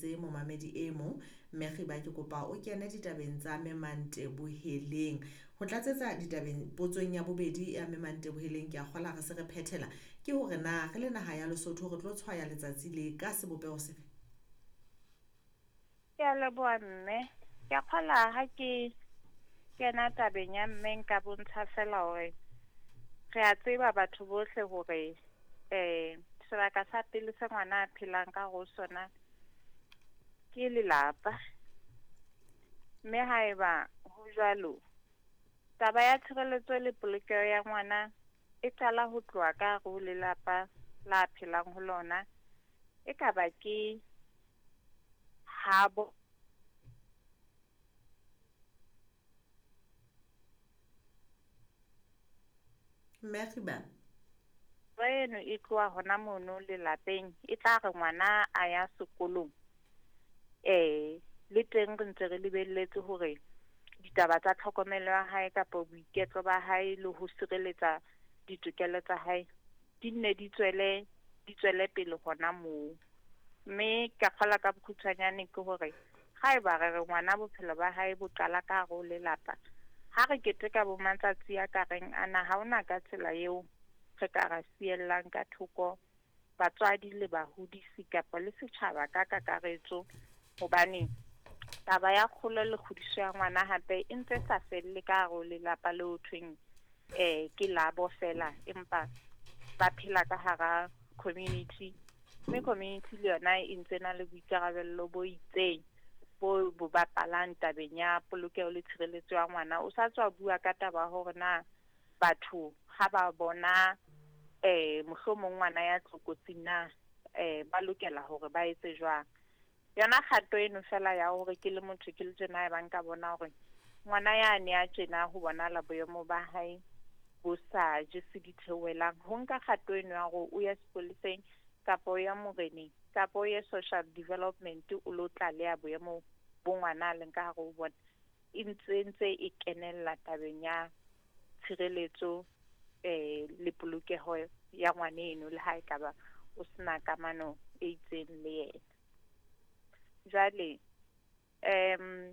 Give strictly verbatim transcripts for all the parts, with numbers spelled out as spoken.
tshwaetse momamedi e mong. Mme Khiba ke kopa o kene ditabeng tsa Memante Boheleng. Ho tlatsetsa ditabeng potsong ya bobedi ya Memante Boheleng ke a kgola re se re phethela ke hore na re le naha ya Lesotho re tlo tshwaya letsatsi le ka sebopeho sefe? Ke a leboha mme. Ke a kgola ha ke kena tabeng ya mme nka bontsha fela hore re a tseba batho bohle hore eh sebaka sa pele se ngwana a phelang ka ho sona ke lelapa. Mme haeba ho jwalo, taba ya tshireletso le polokeho ya ngwana e qala ho tloha ka hare ho lelapa la phelang ho lona. E ka ba ke habo Mme Khiba eno e tloha hona mono lelapeng, e tla re ngwana a ya sekolong eh le teng re ntse re lebelletse hore ditaba tsa tlhokomelo ya hae kapa boiketlo ba hae le ho sireletsa ditokelo tsa hae di nne di tswele di tswele pele hona moo. Mme ka kgola ka bokgutshwanyane ke hore haeba re re ngwana bophelo ba hae bo qala ka hare ho lelapa, ha re keteka bo matsatsi a ka reng ana, ha hona ka tsela eo re ka ra siellang ka thoko batswadi le bahodisi kapa le setjhaba ka kakaretso, hobane taba ya kgolo le kgodiso ya ngwana hape e ntse sa felle ka hare ho lelapa le ho thweng eh ke labo fela, empa ba phela ka hara community, mme community le yona e ntse na le boikarabello bo itseng bo bo bapalang tabeng ya polokeho le tshireletso ya ngwana. O sa tswa bua ka taba hore na batho ha ba bona eh mohlomong ngwana ya tlokotsing na eh ba lokela hore ba etse jwang. Yona kgato eno fela ya hore ke le motho ke le tjena e bang ka bona hore ngwana ya ne a tjena ho bonahala boemo ba hae bo sa jese ditheohelang, ho nka kgato eno ya hore o ya sepoleseng kapa o ya moreneng kapa o ye social development o lo tlaleha boemo bo ngwana a leng ka hare ho bona, e ntse ntse e kenella tabeng ya tshireletso eh le polokeho ya ngwaneno le ha ekaba o sena kamano e itseng le yena. Jwale um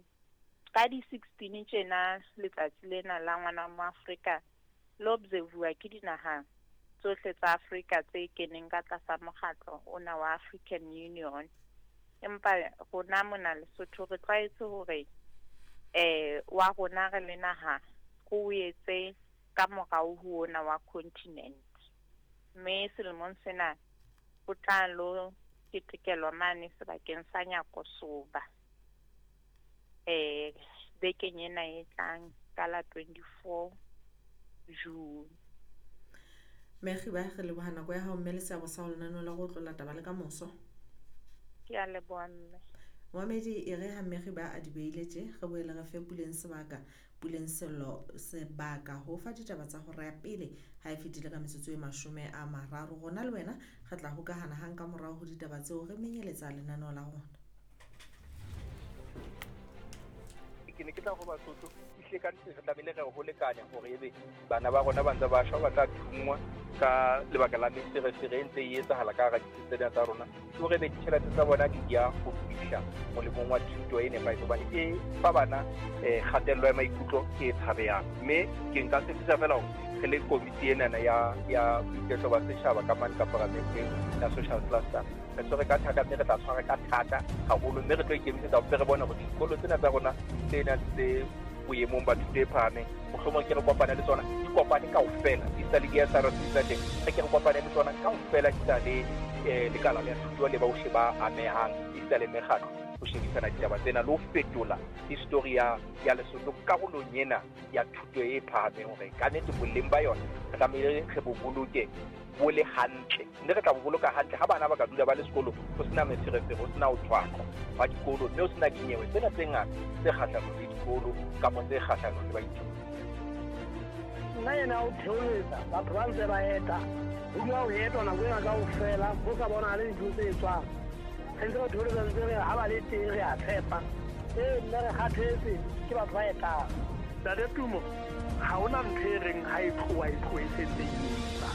ka di sixteen tjena letsatsi lena la ngwana mo Afrika le observe-wa ke dinaha tsohle tsa Afrika tse keneng ka tlasa mokgatlo ona wa African Union. Empa rona mona Lesotho re tlwaetse hore eh wa rona re le naha re o etse ka morao ho ona wa continent. Mme selemong sena ho tla lo ketekelwa mane sebakeng sa Nyakosoba eh bekeng ena e tlang ka la twenty-four June. Mme Khiba re leboha nako ya hao mme le seabo sa ho lenaneo la go tlola taba le ka moso. Ke a leboha mme. Momamedi e re ha Mme Khiba a di beile tje, re boele re fe Puleng sebaka, Puleng Sello sebaka ho fa ditaba tsa hora ya pele ha e fetile ka metsotso e mashome a mararo. Rona le wena re tla hokahana hang ka morao ho ditaba tseo re menyeletsa lenaneo la rona. Ke ne ke tla ho Basotho ehlile ka nnete re tlamehile re ho lekanya hore ebe bana ba rona ba ntse ba shwa ba tla thungwa ka lebaka la meferefere e ntse e etsahala ka hara ditsi tsena tsa rona, ke hore ebe ditjhelete tsa bona di ya ho fihla molemong wa thuto e nepahetseng, hobane e fa bana eh kgatello ya maikutlo e tshabehang. Mme ke nka tshepisa fela hore re le komiti enana ya ya boiketlo ba setjhaba ka mane ka paramenteng ya social cluster, re tshwere ka thata mme re tla tshwara ka thata haholo, mme re tlo ikemisetsa hore re bone hore dikolo tsena tsa rona tse nang tse boemong ba thuto e phahameng mohlomong ke re kopane le tsona di kopane kaofela, di sa le di S R C tsa teng, re ke re kopane le tsona kaofela di sa le eh lekala la thuto le bohle ba amehang, di sa le mekgatlo ho shebisana ditaba tsena le ho fetola history ya ya Lesotho karolong ena ya thuto e phahameng, hore ka nnete boleng ba yona re tlamehile re bo boloke bo le hantle, mme re tla bo boloka hantle ha bana ba ka dula ba le sekolo ho sena meferefere, ho sena ho thwaqwa ba dikolo, mme ho sena dinyewe tsena tse ngata tse kgahlanong le dikolo kapa tse kgahlanong le baithuti. Nna ena o theoletsa batho ba ntse ba eta, ho dula ho etwa nako ena kaofela, ho sa bonahale dintho tse etswang. Re ntse re theoletsa ntse re ha ba le teng re a tshepa. Ee, mme re kgathetse ke batho ba etang. Ntate Tumo, ha hona ntho e reng ha e tloha e tlohe e sentse e etsa.